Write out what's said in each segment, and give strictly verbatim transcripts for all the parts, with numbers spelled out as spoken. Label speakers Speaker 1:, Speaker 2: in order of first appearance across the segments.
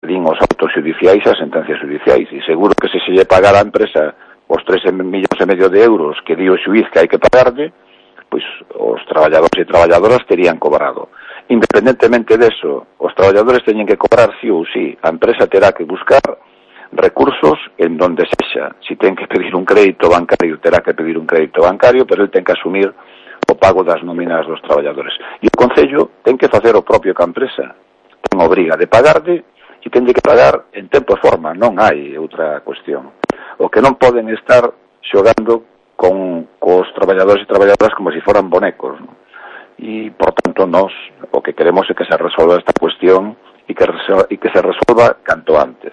Speaker 1: din os autos judiciais e as sentencias judiciais, e seguro que se se lle pagara a empresa os tres millóns e medio de euros que di o xuiz que hai que pagarle, pois os traballadores e traballadoras terían cobrado. Independentemente deso, os traballadores teñen que cobrar sí ou sí. A empresa terá que buscar recursos en donde sexa. Si ten que pedir un crédito bancario, terá que pedir un crédito bancario, pero el ten que asumir o pago das nóminas dos traballadores. E o Concello ten que facer o propio que a empresa. Ten obriga de pagarde e ten que pagar en tempo e forma, non hai outra cuestión. O que non poden estar xogando con cos traballadores e traballadoras como se si foran bonecos, non? E, por tanto, nós o que queremos é que se resolva esta cuestión e que, e que se resolva canto antes.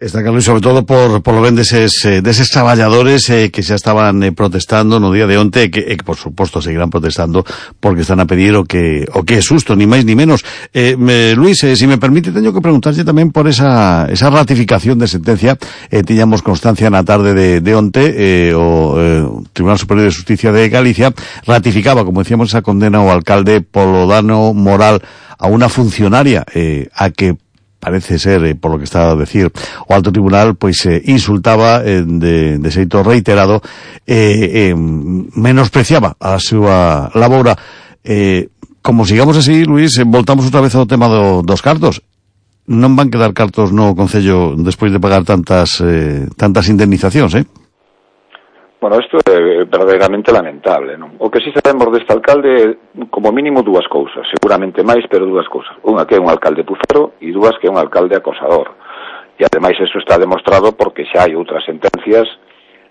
Speaker 2: Está claro, e sobre todo por, por lo ben deses, eh, deses traballadores eh, que xa estaban eh, protestando no día de onte e que, eh, que, por suposto, seguirán protestando porque están a pedir o que o que é susto, ni máis ni menos. Eh, me, Luis, eh, si me permite, teño que preguntarlle tamén por esa, esa ratificación de sentencia. Eh, tiñamos constancia na tarde de, de onte, eh, o eh, Tribunal Superior de Justicia de Galicia ratificaba, como decíamos, esa condena ao alcalde polo dano moral a unha funcionaria eh, a que parece ser, eh, por lo que está a decir o alto tribunal, pois eh, insultaba eh, de, de xeito reiterado, eh, eh, menospreciaba a súa labora. Eh, como sigamos así, Luis, eh, voltamos outra vez ao tema do, dos cartos. Non van quedar cartos no Concello despois de pagar tantas eh, tantas indemnizacións, eh?
Speaker 1: Bueno, isto é verdadeiramente lamentable, non? O que si sabemos deste alcalde, como mínimo dúas cousas, seguramente máis, pero dúas cousas. Unha que é un alcalde pucero e dúas que é un alcalde acosador. E ademais eso está demostrado porque xa hai outras sentencias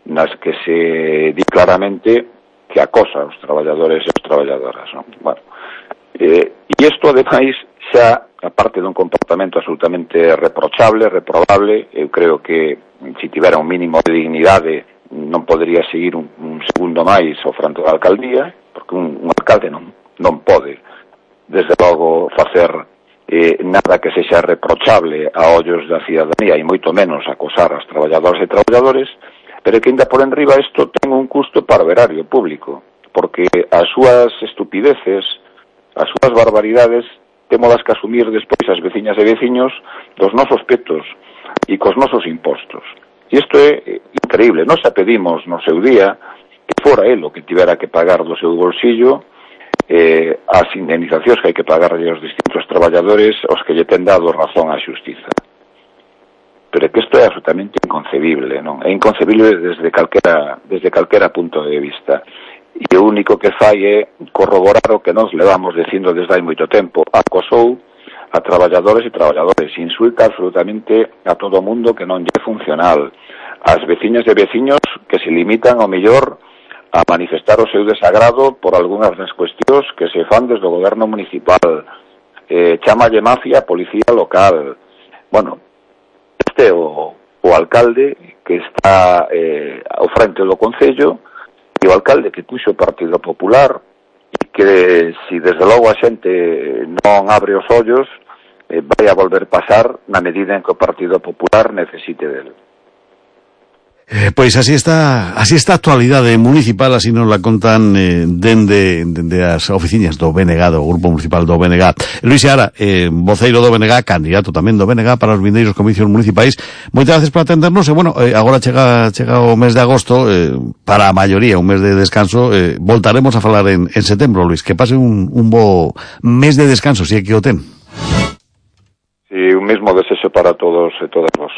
Speaker 1: nas que se di claramente que acosa aos traballadores e as traballadoras, non? Bueno, eh, e isto ademais xa, aparte dun comportamento absolutamente reprochable, reprobable, eu creo que se tivera un mínimo de dignidade non podería seguir un, un segundo máis ao fronte da alcaldía, porque un, un alcalde non, non pode, desde logo, facer eh, nada que sexa reprochable a ollos da cidadanía, e moito menos acosar as traballadoras e traballadores, pero que ainda por enriba isto ten un custo para o erario público, porque as súas estupideces, as súas barbaridades, temolas que asumir despois as veciñas e veciños dos nosos petos e cos nosos impostos. E isto é increíble. Nós xa pedimos no seu día que fora el o que tivera que pagar do seu bolsillo eh, as indemnizacións que hai que pagarlle aos distintos traballadores aos que lle ten dado razón á xustiza. Pero é que isto é absolutamente inconcebible, non? É inconcebible desde calquera, desde calquera punto de vista. E o único que fai é corroborar o que nos levamos dicindo desde hai moito tempo. Acosou a traballadores e traballadores, insulta absolutamente a todo o mundo que non lle é funcional, as veciñas e veciños que se limitan ao mellor a manifestar o seu desagrado por algunhas das cuestións que se fan desde o goberno municipal, eh, chamalle mafia a policía local. Bueno, este é o, o alcalde que está eh, ao frente do Concello, e o alcalde que puxo o Partido Popular, e que si desde logo a xente non abre os ollos, eh, vai a volver pasar na medida en que o Partido Popular necesite dele.
Speaker 2: Eh, pois así está, así está a actualidade municipal, así nos la contan eh, dende, dende as oficinas do B N G, do Grupo Municipal do B N G. Luis Seara, eh, voceiro do B N G, candidato tamén do B N G para os vindeiros comicios municipais. Moitas gracias por atendernos, e bueno, eh, agora chega, chega o mes de agosto, eh, para a maioría un mes de descanso, eh, voltaremos a falar en, en setembro, Luis, que pase un, un bo mes de descanso, si é que o ten.
Speaker 1: Sí, un mesmo desexo para todos e todas vos.